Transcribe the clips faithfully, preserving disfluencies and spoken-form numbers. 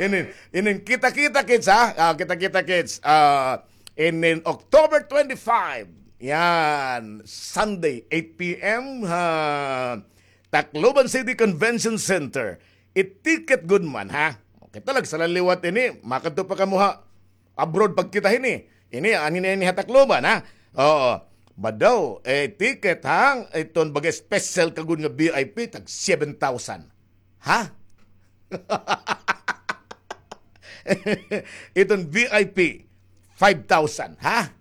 Inin, inin, kita-kita, kids, ha? Ah, kita-kita, kids. Ah, inin October twenty-five. Yan, Sunday, eight p m, ha? Tacloban City Convention Center. It-ticket gud man, ha? Okay, talag sa laliwat ini, makadto pa kamo ha abroad pagkita hini. Ini, ani na ini ha Tacloban, ha? Oo. Badaw, eh, ticket, ha? Iton baga special ka gud nga V I P, tag seven thousand. Ha? Iton V I P, five thousand, ha?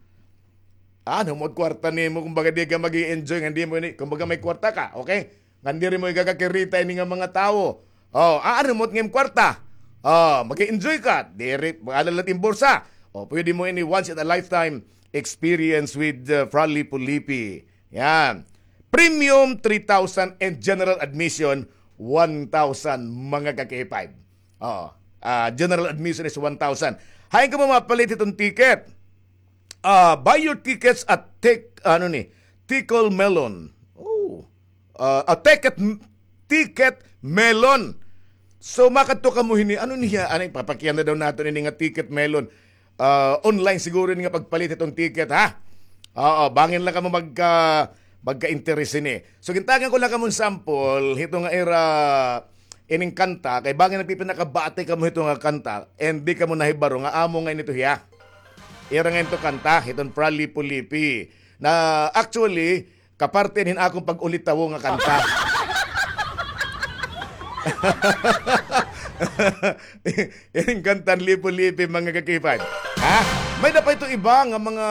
Ano mo kwarta nimo, kumbaga di ka mag-i-enjoy nga di mo ini, kumbaga may kwarta ka, okay? Nga diri mo igakakirita ini nga mga tawo. Oh, ah, ano mo ngim kwarta? Oh, mag-enjoy ka. Diri, mag-alalat in bursa. Oh, pwede mo ini once in a lifetime experience with uh, Fra Lipo Lipi. Yan. Premium, three thousand, and general admission, one thousand, mga ka-K five. Oh, ah, general admission is one thousand. Hain ka mo mapalit itong ticket? Ah, buy your tickets at Tek-, ano ni, Tickle Melon. Oh. Ah, ah, Ticket, Ticket Melon. So, makadto kamo hini. Ano niya? Ano, papakiana daw naton ini nga Ticket Melon. Ah, online siguro ini nga pagpalit itong ticket, ha? Oo, bangin lang kamo magka, magka-interes ini. So, gintagan ko lang kamo sample, hito nga ira ining kanta, kay bangin nagpipinakabati kamo hito nga kanta, and di kamo nahibaro nga amo nga ini to hiya. Ira nga ito kanta, hiton Fra Lipo Lipi. Na actually, kaparte hin akon pag-ulitawo nga kanta. Ining kantan Lipo Lipi, mga ka-K five. Ha? May-ada pa ito iba nga mga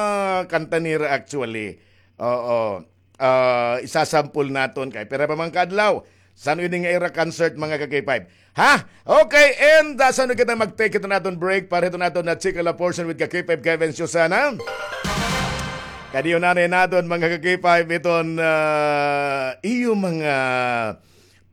kanta nira actually. Oo. Ah, isasampol naton kay pira pa man ka adlaw. San-o ini nga ira concert, mga ka-K five? Ha? Okay, and ah, san-o kita mag-take ito naton break para ito naton na chika la portion with ka-K five Kevin Susana? Kadiyo na rin naton, mga ka-K five, iton ah, iyo mga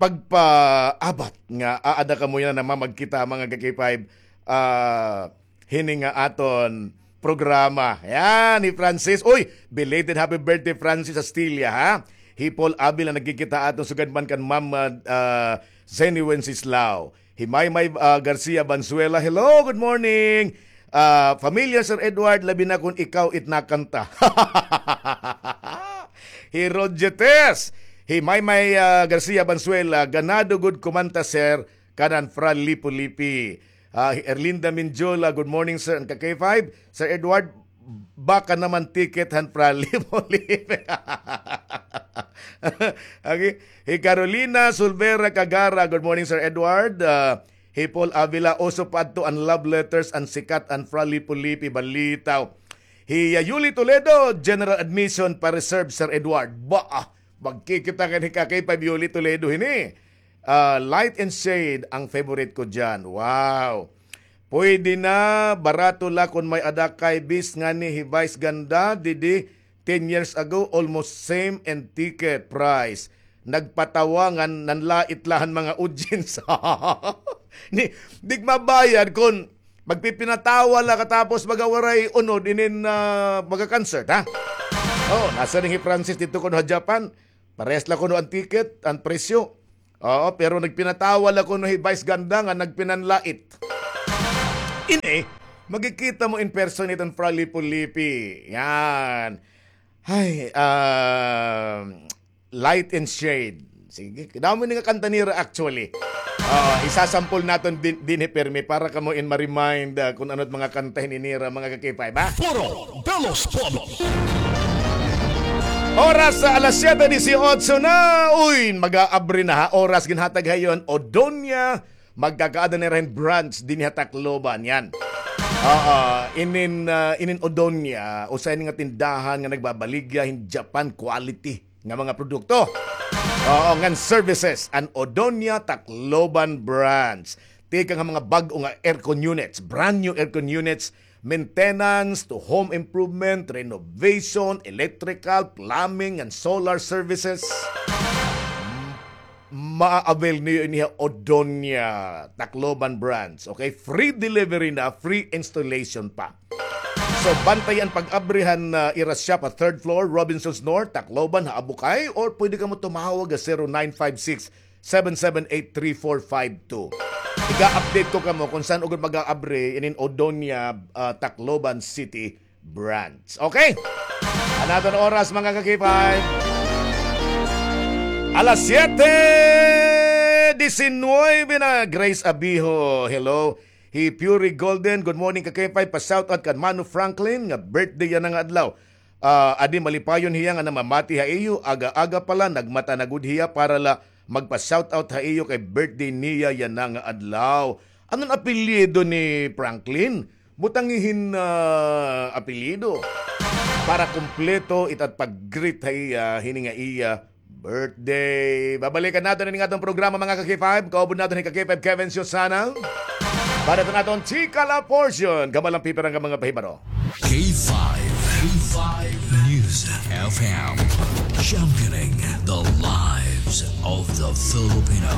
pagpaabat nga aada kamo yana namamagkita, mga ka-K five. Ah, hini nga aton programa. Yan, hi Francis. Uy, belated happy birthday, Francis Astilla, ha? Hi Paul Avila, nagkikita aton sugad man kan Ma'am, ah, Zenny Wenceslao. Hi Maymay, ah, Garcia Banzuela, hello, good morning. Ah, familiar, Sir Edward, labi na kun ikaw it nakanta. Hi Roger Tess. Hi Maymay, ah, Garcia Banzuela, ganado gud kumanta, sir, kanan Fra Lipo Lipi. Ah, hi Erlinda Minjola, good morning, sir. An ka-K five, Sir Edward, baka naman ticket han Fra Lipo Lipi. Okay. Hi Carolina Sulvera Kagara, good morning, Sir Edward. Ah, hi Paul Avila, uso pa adto an love letters, an sikat, an Fra Lipo Lipi, balitaw. Hi, ah, Yuli Toledo, general admission pa reserve, Sir Edward. Ba, ah, magkikita ka ni ka-K five Yuli Toledo hini. Ah, Light and Shade ang favorite ko diyan. Wow. Pwede na, barato la kon may-ada kay bis ngani hi Vice Ganda, didi, ten years ago, almost same and ticket price. Nagpatawa nga nanlait la han mga audience. Ni, di mabayad kon magpipinatawa la katapos baga waray unod inin, ah, baga concert, ha? Oh, nasiring hi Francis didto kuno ha Japan. Parehas la kuno an ticket, an presyo. Oo, pero nagpinatawa la kuno hi Vice Ganda nga nagpinanlait. Ini, magkikita mo in person iton Fra Lipo Lipi. Yan. Ay, ah, Light and Shade. Sige, damo ni nga kanta nira actually. Ah, isasampol naton din, dinhi pirmi para kamo in ma-remind, ah, kun ano it mga kanta hini nira, mga ka-K five, ha? Foro de los Pueblos. Oras sa alas siyete dieciocho na. Uy, mag-aabri na ha. Oras ginhatag ha iyo han Odonia. Magkakaada na rin branch dinhi ha Tacloban. Yan. Oo, inin, ah, inin Odonia, usa ini nga tindahan nga nagbabaligya hin Japan quality nga mga produkto. Oo, ngan services, an Odonia Tacloban branch. Tikang ha mga bag-o nga aircon units, brand new aircon units, maintenance to home improvement, renovation, electrical, plumbing, and solar services. Ma-avail niyo ini ha Odonia, Tacloban branch. Okay? Free delivery na, free installation pa. So, bantay an pag-abri han, ah, ira shop ha third floor, Robinsons North, Tacloban, ha Abukay, or pwede kamo tumawag ha zero nine five six, seven seven eight, three four five two. Iga-update ko kamo kung san-o gud mag-aabri inin Odonia, ah, Tacloban City branch. Okay? An aton oras, mga ka-K five. Alas siyete disinuybe na. Grace Abijo, hello. Hi Fury Golden, good morning, ka-K five. Pa-shoutout kan Mano Franklin, nga birthday yana nga adlaw. Ah, adi malipayon hiya nga namamati ha iyo, aga-aga pa la, nagmata na gud hiya para la magpa-shoutout ha iyo kay birthday niya yana nga adlaw. Ano an apelyido ni Franklin? Butangi hin, ah, apelyido. Para kumpleto it at pag-greet ha iya, hini nga iya birthday. Babalikan naton ini nga aton programa, mga ka-K five. Kaupod naton hi ka-K five Kevin Susana. Para sa aton chika la portion, kamo la an pipira nga mga pahibaro. K five, K five News F M, championing the lives of the Filipino.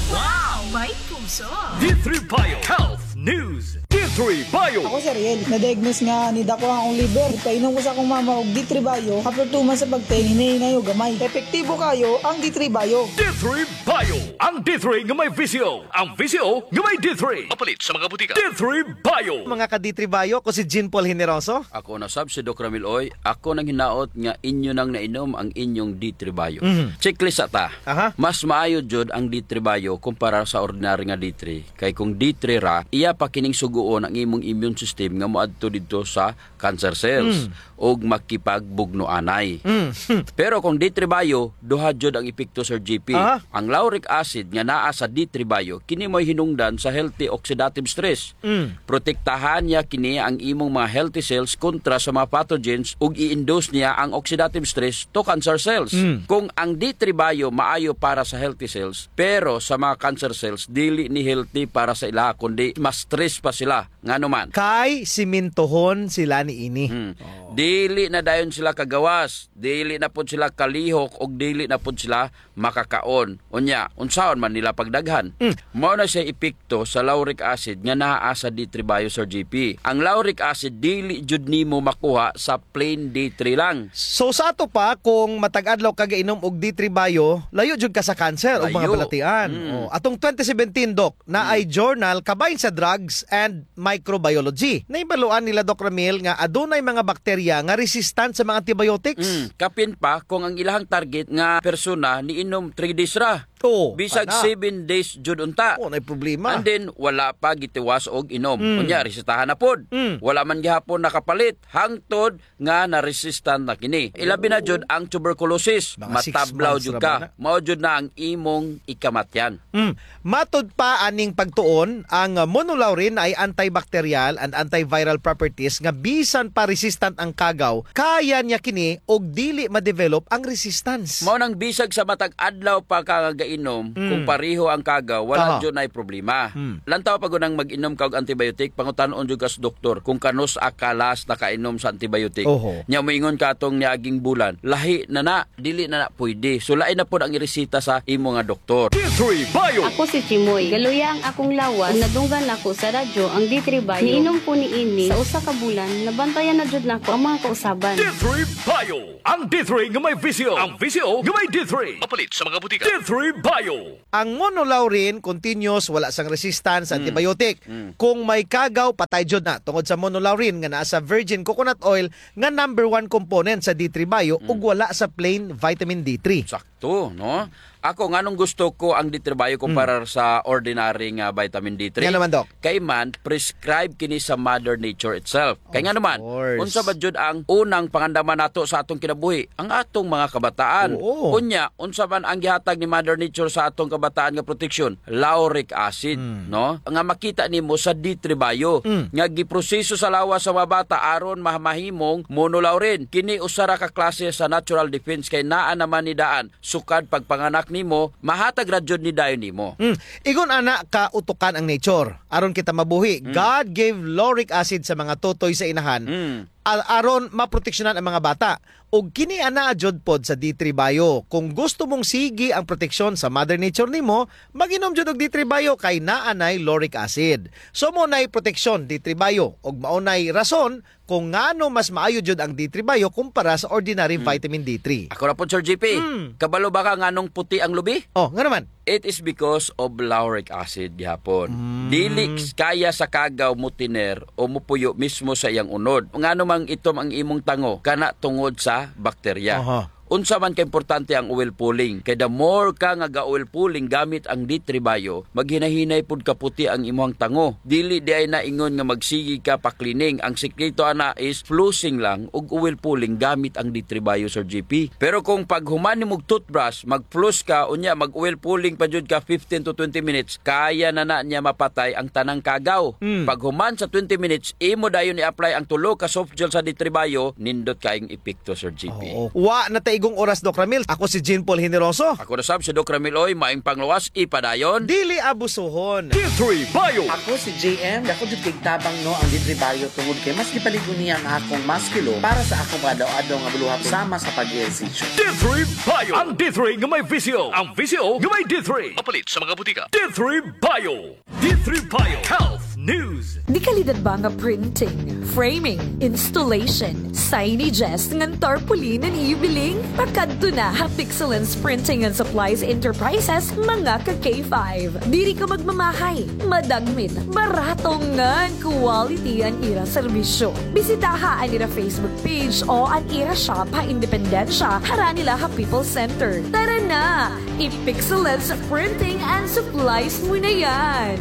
Wow! May puso! D three Bio Health News. D three Bio. Ako si Ariel. Na-diagnose nga nidako an akon liver. Ipainom ko sa akon mama og D three Bio. After two months sa pagtake, hinay-hinay og gamay. Epektibo kayo ang D three Bio. D three Bio. Ang D three nga may V C O. Ang V C O nga may D three. Mapalit sa mga butika. D three Bio. Mga ka-D three Bio, ako si Jean Paul Generoso. Ako na sab si Doc Ramil Oy. Ako nanghinaot nga inyo nang nainom ang inyong D three Bio. Mhm. Checklist sa ta. Aha. Mas maayo jud ang D three Bio kumpara sa ordinary nga D three. Kay kung D three ra, iya pa kining sugoon ang imong immune system nga moadto didto sa cancer cells Mm. ug makipagbugno anay. Mm. Pero kung D three Bio, duha jud ang epekto, Sir G P. Aha. Ang lauric acid nga naa sa D three Bio, kini mo'y hinungdan sa healthy oxidative stress. Mm. Protektahan niya kini ang imong mga healthy cells kontra sa mga pathogens ug i-induce niya ang oxidative stress to cancer cells. Mm. Kung ang D three Bio maayo para sa healthy cells, pero sa mga cancer cells, dili ni healthy para sa ila, kundi mas stress pa sila. Ngano man? Kay simintohon sila niini. Hmm. Oh. Dili na dayon sila kagawas, dili na pod sila kalihok, ug dili na pod sila makakaon. Unya, unsaon man nila pagdaghan? Mm. Mao na siya epekto sa lauric acid nga naa sa D three Bio, Sir G P. Ang lauric acid, dili jud nimo makuha sa plain D three lang. So, sa ato pa, kung matag adlaw ka gainom og D three Bio, layo jud ka sa cancer o mga Layo. balatian. Mm. Oh, atong twenty seventeen, Doc, na Mm. ay journal kabahin sa Drugs and Microbiology. Nahibaluan nila, Doc Ramil, nga adunay mga bakterya nga resistant sa mga antibiotics. Mm, kapin pa kung ang ilahang target nga persona niinom three days ra. Oo, Bisag ana. seven days jud unta. Oo, nay problema. And then, wala pa gitiwas og inom. Mm. Unya, resetahan na pod. Mm. Wala man gihapon nakapalit. Hangtod nga na-resistant na kini. Ilabi na jud ang tuberculosis. Mga six Matablaw months jud ra ka. ba na? Mao jud na ang imong ikamatyan. Mm. Matod pa aning pagtuon, ang monolaurin ay antibacterial and antiviral properties nga bisan pa resistant ang kagaw, kaya niya kini og dili ma-develop ang resistance. Mao nang bisag sa matag adlaw pa ka nga gainom, Mm. kung pareho ang kagaw, wala Aha. jud nay problema. Mm. Lantaw pa gud ang mag-inom ka og antibiotic, pangutan-on jud ka sa doktor kung kanus-a ka last nakainom sa antibiotic. Oho. Nya moingon ka atong niaging bulan, lahi na na, dili na na pwede. So, lain na pod ang iresita sa imo nga doktor. D three Bio. Ako si Chimoy. Galuya ang akong lawas. Ug nadunggan nako sa radyo ang D three Bio. Niinom ko niini sa usa ka bulan, nabantayan na jud nako ang mga kausaban. D three Bio. Ang D three nga may V C O. Ang V C O nga may D three. Mapalit sa mga butika. D three Bio. Ang monolaurin, continuous, wala sang resistance sa Mm. antibiotic. Mm. Kung may kagaw, patay jud na. Tungod sa monolaurin nga naa sa virgin coconut oil nga number one component sa D three Bio Mm. ug wala sa plain vitamin D three. Sakto, no? Ako, nganong gusto ko ang D three Bio Mm. kumpara sa ordinary nga vitamin D three? Nga naman, Doc? Kay man, prescribe kini sa Mother Nature itself. Kay Of nga naman, course. unsa ba jud ang unang pangandaman nato sa atong kinabuhi? Ang atong mga kabataan. Oo. Unya, unsa man ang gihatag ni Mother Nature sa atong kabataan nga proteksyon? Lauric acid, Mm. no? Nga makita nimo sa D three Bio, Mm. nga giproseso sa lawas sa mga bata aron ma-, mahimong monolaurin. Kini usa ra ka klase sa natural defense kay naa naman ni daan sukad pagpanganak nimo, mahatag ra jud ni dayon nimo. Mm. Ingon ana ka utukan ang nature. Aron kita mabuhi, Mm. God gave lauric acid sa mga tutoy sa inahan. Mm. a-, aron maproteksyonan ang mga bata. Ug kini anaa jud pod sa D three Bio. Kung gusto mong sige ang proteksyon sa Mother Nature nimo, mag-inom jud og D three Bio kay naa nay lauric acid. So, mao nay proteksyon, D three Bio, ug mao nay rason kung ngano mas maayo jud ang D three Bio kumpara sa ordinary vitamin D three. Ako ra pod, Sir G P. Mm. Kabalo ba ka nganong puti ang lubi? Oh, ngano man? It is because of lauric acid gihapon. Mm. Dili kaya sa kagaw motiner o mopuyo mismo sa iyang unod. Ngano mang itom ang imong tango? Kana tungod sa bakterya. Aha. Unsa man ka importante ang oil pulling? Kay the more ka nga ga-oil pulling gamit ang D three Bio, maghinahinay pud kaputi ang imuhang tango. Dili diay na ingon nga magsige ka pa-cleaning. Ang sikreto ana is flossing lang ug oil pulling gamit ang D three Bio, Sir G P. Pero kung paghuman nimog toothbrush, mag-floss ka, unya mag-oil pulling pa jud ka fifteen to twenty minutes, kaya na na niya mapatay ang tanang kagaw. Mm. Paghuman sa twenty minutes, imo dayon i-apply ang tulo ka soft gel sa D three Bio, nindot kaayong epekto, Sir G P. Oo. Wa na ta igong oras, Doc Ramil. Ako si Jean Paul Generoso. Ako na sab si Doc Ramil Oy, maayong panglawas, ipadayon. Dili abusuhon. D three Bio. Ako si J M. Dako jud kay tabang, no, ang D three Bio tungod kay mas gipalig-on niya ang akong maskilo para sa akong pang-adlaw-adlaw nga buluhaton sama sa pag-ehersisyo. D three Bio. Ang D three nga may visyo. Ang visyo nga may D three. Mapalit sa mga butika. D three Bio. D three Bio Health News. Dekalidad ba nga printing, framing, installation, signages ngan tarpaulin an iyo biling? Pakadto na ha Pixelance Printing and Supplies Enterprises, mga ka K five. Diri ka magmamahay, madagmit, barato ngan quality an ira serbisyo. Bisitaha an ira Facebook page o an ira shop ha Independencia, harani la ha People's Center. Tara na! I-Pixelance Printing and Supplies mo na yan!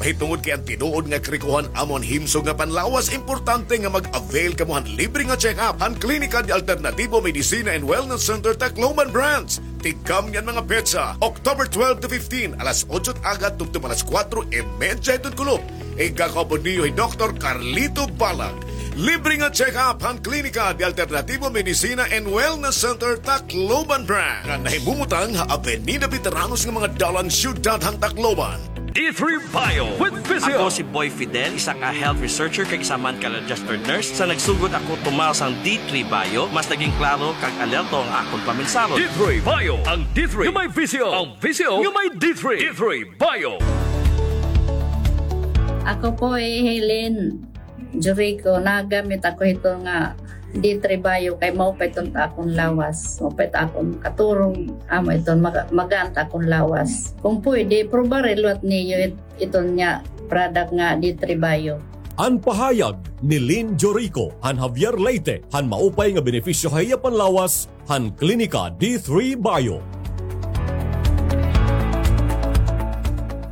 Mahitungod kay an tinuod nga karikohan amo an himsog nga panlawas, importante nga mag-avail kamo han libre nga check-up han Klinika de Alternativo Medicina and Wellness Center, Tacloban Branch. Tigkam niyan mga petsa, October twelve to fifteen, alas otso it aga tubtob alas kuwatro y medya hiton kulop. Igakaupod niyo hi Doktor Carlito Balag. Libre nga check-up han Klinika de Alternativo Medicina and Wellness Center, Tacloban Branch, nga nahimumutang ha Avenida Veteranos nga mga dalan, siyudad han Tacloban. D three Bio with Physio. Ako si Boy Fidel, isa nga health researcher kag isa man ka registered nurse. Sa nagsugod ako tumaw sang D three Bio, mas naging klaro kag alerto ang akon paminsaro. D three Bio, ang D three nga may visyo, ang visyo nga may D three. D three Bio. Ako po hi Helen Jurico, nagamit ako hito nga D three Bio kay maupay iton ta akon lawas, maupay ta akon katurog, amo iton maga-, magaan ta akon lawas. Kung pwede, probare liwat niyo it-, iton nga product nga D three Bio. An pahayag ni Lynn Jorico han Javier Leyte han maupay nga benepisyo ha iya panlawas han Klinika D three Bio.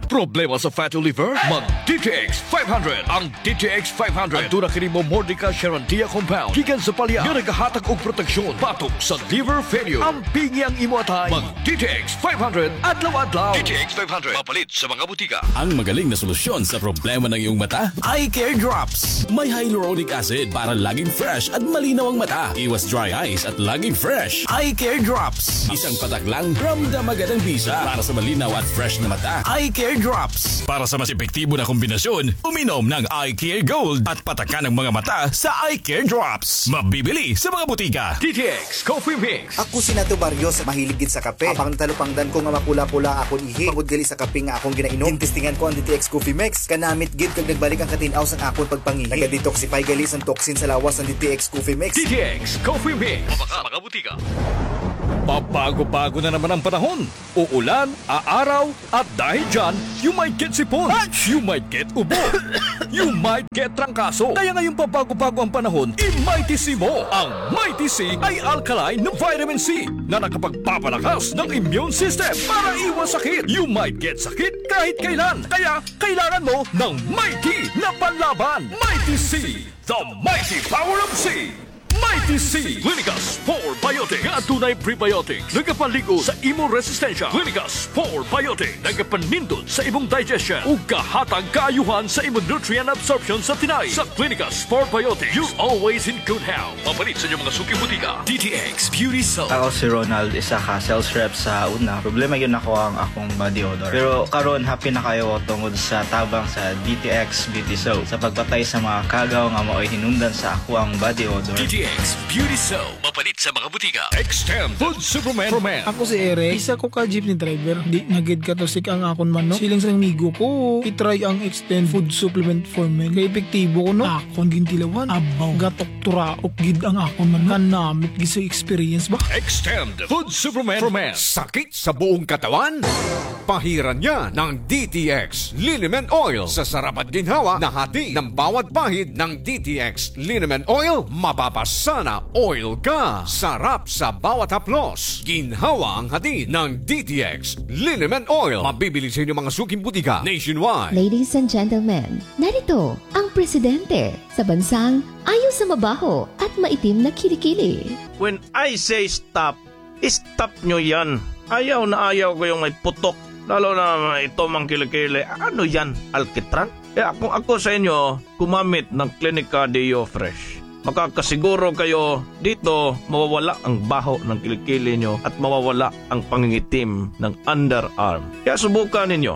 Problema sa fatty liver? Mag D T X five hundred. Ang D T X five hundred. Aduna kini Momordica charantia compound gikan sa palya nga nagahatag og proteksyon batok sa liver failure. Ampingi ang imo atay. Mag D T X five hundred adlaw-adlaw. D T X five hundred. Mapalit sa mga butika. Ang magaling na solusyon sa problema ng iyong mata, Eye Care Drops. May hyaluronic acid para laging fresh at malinaw ang mata. Iwas dry eyes at laging fresh. Eye Care Drops. Isang patak lang, ramdam agad ang bisa. Para sa malinaw at fresh na mata, Eye Care Drops. Para sa mas epektibo na kombinasyon, uminom ng Eye Care Gold at patakan ang mga mata sa Eye Care Drops. Mabibili sa mga butika. D T X Coffee Mix. Ako si Nato Barrios, mahilig gid sa kape. Apang natalupangdan ko nga mapula-pula akon ihi tungod gali sa kape nga akon ginainom. Ginestingan ko ang D T X Coffee Mix. Kanamit gid kag nagbalik ang katin-aw sang akon pagpangihi. Naga-detoxify gali sang toxin sa lawas ang D T X Coffee Mix. D T X Coffee Mix. Mabaka, mga butika. Pabago-bago na naman ang panahon. Uulan, aaraw, at dahil dyan, you might get sipon, you might get ubo, you might get trangkaso. Kaya ngayong pabago-bago ang panahon, i-Mighty C mo. Ang Mighty C ay alkaline na vitamin C na nakapagpapalakas ng immune system para iwas sakit. You might get sakit kahit kailan. Kaya kailangan mo ng Mighty na panlaban. Mighty C, the mighty power of C. Mighty C. Clinicas Four Biotic nga adunay prebiotics, nagapalig-on sa imo resistensya. Clinicas Four Biotic, nagapanindot sa imong digestion ug gahatag kaayuhan sa imo nutrient absorption sa tinai. Sa Clinicas Four Biotic, you're always in good health. Mapalit sa inyong mga suki butika. D T X Beauty Soap. Ako si Ronald, isa ka sales rep sa una. Problema gyud nako ang akong body odor. Pero karon, happy na kaayo ko tungod sa tabang sa D T X Beauty Soap sa pagpatay sa mga kagaw nga maoy hinungdan sa akoang body odor. D T X Beauty Soap. Mapalit sa mga butika. Extend Food Supplement for Men. Ako si Eric. Isa ko ka jeepney driver. Di na gid katusik ang akon manok. Siling sa amigo ko, i-try ang Extend Food Supplement for Men. Kay epektibo kuno. Akon gintilawan. Abaw. Gatok turaok gid ang akon manok. Kanamit gid sa experience ba? Extend Food Supplement for Men. Sakit sa buong katawan? Pahiran niya ng D T X Liniment Oil. Sa sarap at ginhawa na hatid ng bawat pahid ng D T X Liniment Oil, mapapasana oil ka. Sarap sa bawat haplos. Ginhawa ang hatid ng D T X Liniment Oil. Mabibili sa inyong mga suking butika nationwide. Ladies and gentlemen, narito ang presidente sa bansang ayaw sa mabaho at maitim na kilikili. When I say stop, stop nyo yan. Ayaw na ayaw ko yung may putok. Lalo na ito mang kilikili. Ano yan? Alkitran? Kaya kung ako sa inyo, gumamit ng Clinica Deo Fresh. Makakasiguro kayo dito mawawala ang baho ng kilikili nyo at mawawala ang pangingitim ng underarm. Kaya subukan ninyo.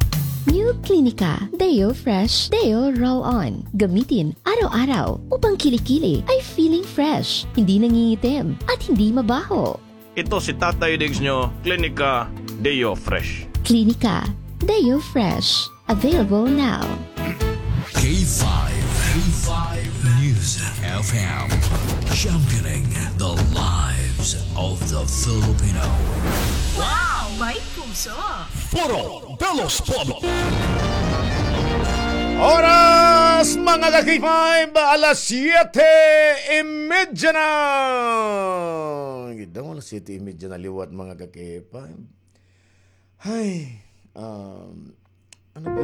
New Clinica Deo Fresh Deo Roll On. Gamitin araw-araw upang kilikili ay feeling fresh, hindi nangingitim, at hindi mabaho. Ito si Tatay Diggs nyo, Clinica Deo Fresh. Clinica Deo Fresh. Available now. K five, K five News F M. Championing the lives of the Filipino. Wow! May puso! Foro de los Pueblos. Oras, mga ka-K five, alas siyete y medya na. Gidamo, alas siyete y medya na liwat, mga ka-K five. Hay, um, ano ba